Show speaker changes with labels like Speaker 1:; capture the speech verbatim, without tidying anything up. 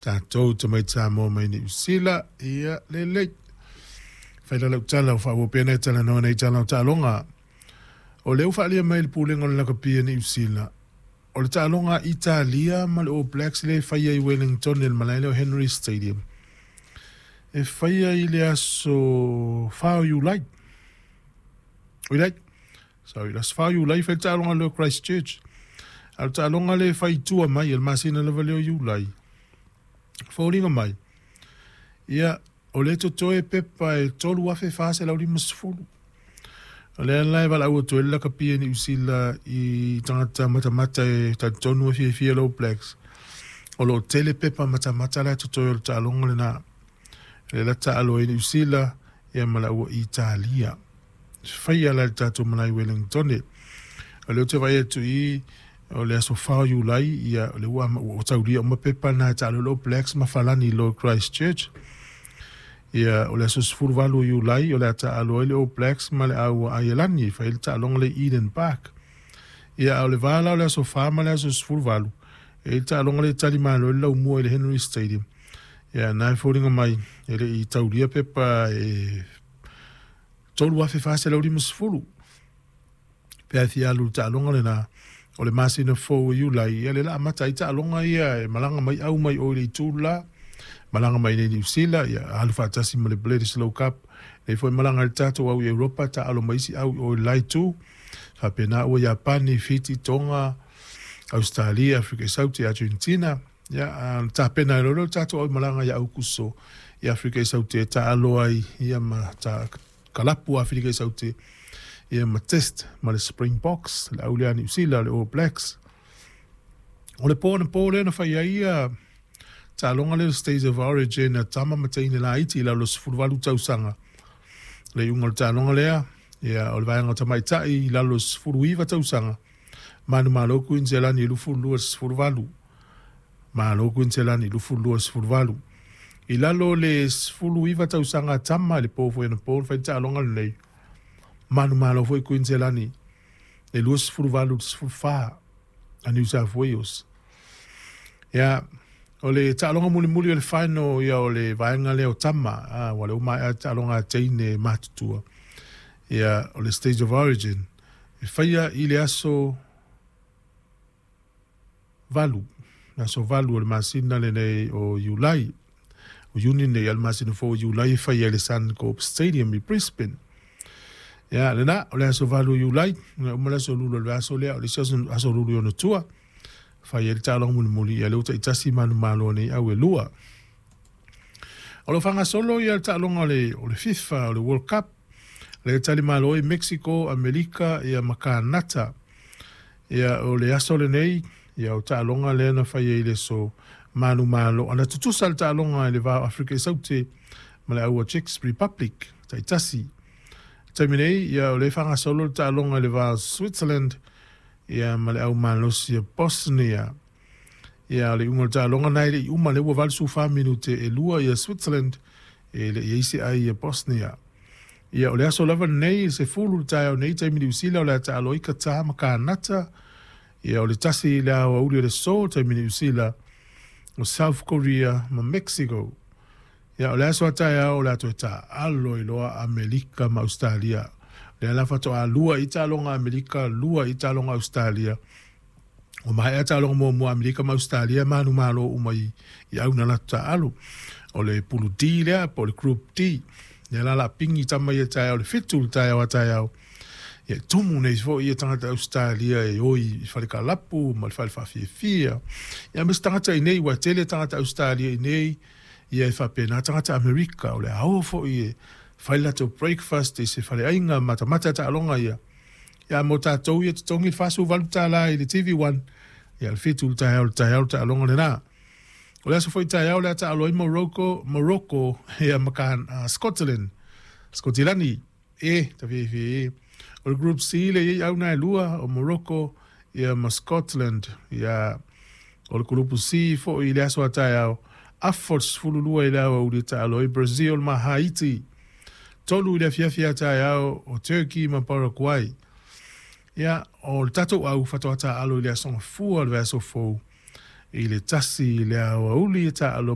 Speaker 1: Tatou tamaiti Samoa mai Niu Sila, ia lelei. Fai la lau tala o faaauau pea nai talanoa nei tala o taaloga. O lea ua faaalia mai e le Pulega o le Lakapi a Niu Sila, o le taaloga a Italia ma le All Blacks lea e faia i Wellington i le malae lea o Henry Stadium, e faia i le aso fa o Iulai. Oi sorry, le aso fa o Iulai fai le taaloga lea o Christchurch. A o le taaloga lea e fai i tua mai i le masina lava lea o Iulai, foliga mai, ia, o lea e totoe pepa e tolu afe fa selau lima sefulu. O lea la e valaau atu ai le lakapi a Niu Sila i tagata matamata e talitonu e fiafia le All Blacks. O lo o tele pepa matamata la e totoe o le taaloga lena. Le la taalo ai Niu Sila ia ma la ua Italia. Faia la le tatou malae Wellington. O lea ou te vaai atu i o le aso fa o Iulai, ia o le ua ua taulia uma pepa na e taalo le All Blacks ma falani i loa Christchurch. Ia o le aso sefulu valu o Iulai o le a taalo ai le All Blacks ma le au Aielani e fai le taaloga le Eden Park. Ia o le va la o le aso fa ma le aso sefulu valu e le taaloga le tali malo le laumua i le Henry Stadium. Ia na e foliga mai e le i taulia pepa e tolu afe fa selau lima sefulu. Pe a fia alu le taaloga lena o le masina fou o Iulai, ia le la amata ai taaloga ia e malaga mai au mai o i le itu la malaga mai nei Niu Sila, ia alu faatasi ma le Bledisloe Cup, nei foi malaga le tatou au i Europa taalo mai isi au o le la itu, faapena ua Iapani, Fiti, Tonga, Australia, Afrika i Saute, Argentina, ia tapena ai loa lea o le tatou au malaga ia Aukuso i Afrika i Saute e taalo ai ia ma ta kalapu Afrika i Saute ia ma test ma le Springboks, le au lea a Niu Sila, le All Blacks. O le po anapo lea na fai ai ia taaloga lea o le State of Origin a tama ma teine laiti i lalo o le sefulu valu tausaga. Le iuga o le taaloga lea, ia o le vaega o tamaitai i lalo o le sefulu iva tausaga, manumalo Kuiniselani i luafulu lua i le sefulu valu. Malo Kuiniselani i luafulu lua i le sefulu valu. I lalo o le sefulu iva tausaga a tama i le po foi anapo na fai le taaloga lenei, manumalo foi Kuiniselani e luasefulu valu i le sefulu fa a New South Wales. Ia, o le taaloga mulimuli o le final ia o le vaega lea o tama, a, ua le uma ae taaloga a teine matutua. Ia, o le Stage of Origin, e faia i le aso valu, le aso valu o le masina lenei o Iulai. O Iuni nei, a le masina fou o Iulai e faia i le Suncorp Stadium i Brisbane. Ia, lena, o le aso valu o Iulai, na uma le aso lulu o le aso lea, o le isi aso, aso lulu i ona tua, fai ai le taaloga mulimuli, ia le ua taitasi manumalo nei au e lua. O lo faagasolo ia le taaloga o le, o le FIFA, o le World Cup, le tali malo ai Mexico, Amerika, ia ma Kanata. Ia o le aso lenei, ia o taaloga lea na fai ai le aso manumalo. Ana tutusa le taaloga i le va o Afrika i Saute ma le au a Czech Republic, taitasi. Taimi nei, ia o le faagasolo le taaloga i le va o Switzerland, ia ma le au malosi a Bosnia. Ia o le iuga o le taaloga na e le i uma lea ua valu fa minute e lua ia Switzerland e le i ai se ai ia Bosnia. Ia o le aso lava lenei i se fulu le taeao nei taimi Niu Sila o le a taalo ai Qatar ma Kanata. Ia o le tasi i le aoauli o le aso taimi Niu Sila o South Korea ma Mexico. Ia o le aso a taeao o le a toe taalo i loa Amerika ma Australia. Lea la faatoa lua i taaloga Amerika, lua i taaloga Australia. O maea taaloga muamua Amerika ma Australia manumalo uma i, i au na latou taalo. O le pulu D lea, po o le Group D. Lea la la pingi tama ia taeao le fitu le taeao a taeao. Ia tumu nei foi ia tagata Australia e oi i fale kalapu ma le fale faafiafia. Ia ma se tagata i nei, ua tele tagata Australia i nei, ia e faapena tagata Amerika o le a o foi e fai latou breakfast i se faleaiga matamata taaloga ia. Ia mo tatou ia totogi le fasefuluvalu tala i le T V one, ia le fitu le taeao le taeao le taaloga lena. O le aso foi taeao le a taalo ai Morocco, Morocco ia ma uh, Scotland, Scotilani, e ta fiafia e. O le Group C le iai au na e lua o Morocco ia ma Scotland, ia o le Group C foi i le aso a taeao, afa o le sefulu lua i le aoauli e taalo ai Brazil ma Haiti. Tolu i le afiafi a taeao o Turkey ma Paraguay. Ia, o le tatou au faatoa taalo i le aso gafua o le vaiaso fou i le tasi i le aoauli e taalo